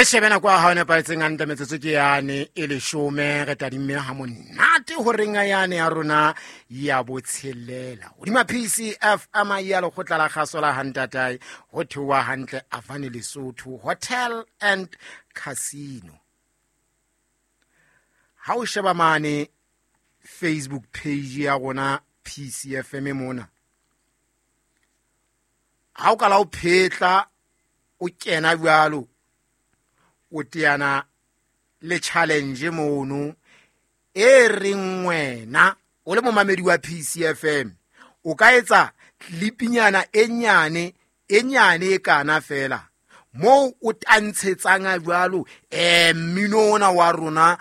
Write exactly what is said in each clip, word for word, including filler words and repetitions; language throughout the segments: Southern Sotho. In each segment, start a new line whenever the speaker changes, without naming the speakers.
Re shebe nako ya hao e nepahetseng hantle, metsotso ke yane e leshome. Re tadimme ha monate horeng yane ya rona ya botshelela hodima P C F M ya lekgotla la kgaso la hantatae, ho theoha hantle Avane Lesotho Hotel and Casino. Ha o sheba mane Facebook page ya rona P C F M mona, ha o kala o phetla o kena jwalo, o teana le challenge mono e reng wena o le momamedi wa P C F M o ka etsa clipinyana e nyane e nyane e kana fela moo o tantshetsang jwalo um mmino ona wa rona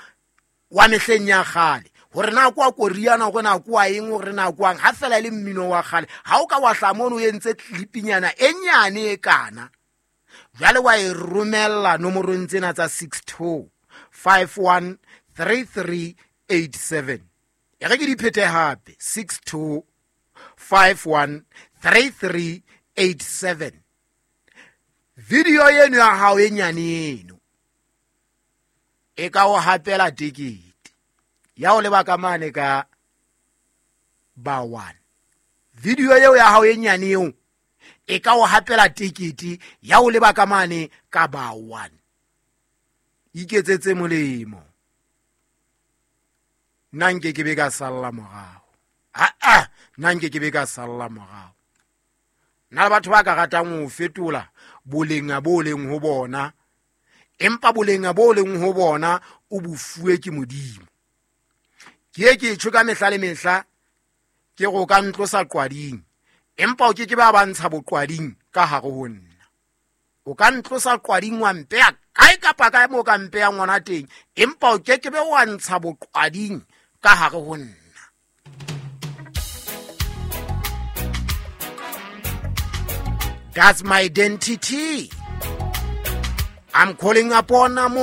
wa mehleng ya kgale, hore na kwa koriana, hore na kwa eng, hore na kwang, ha fela e le mmino wa kgale. Ha o ka wa hla mono o entse clipinyana e nyane e kana jwale, wa e romella nomorong tsena tsa six two five one three three eight seven. E re ke di phete hape: six two five one three three eight seven. Video eno ya hao e nyane eno e ka o hapela tekete ya o leba ka mane ka ba one. Video eo ya hao e nyane eo e ka o hapela tekete ya o leba ka mane ka ba one. Iketsetse molemo, nna nke ke be ka salla morao. Aa, nna nke ke be ka salla morao. Nna le batho ba ka ratang ho fetola boleng bo leng ho bona, empa boleng bo leng ho bona o bo fuwe ke Modimo. Ke ye ke tjho ka mehla le mehla, ke go ka ntlosa qwading, empa o ke ke ba ba ntsha boqwading ka hare ho nna. O ka ntlosa qwading, wa mpeya kae kapa kae mo ka mpeyang ngwana teng, empa o ke ke be wa ntsha boqwading ka hare ho nna. That's my identity. I'm calling upon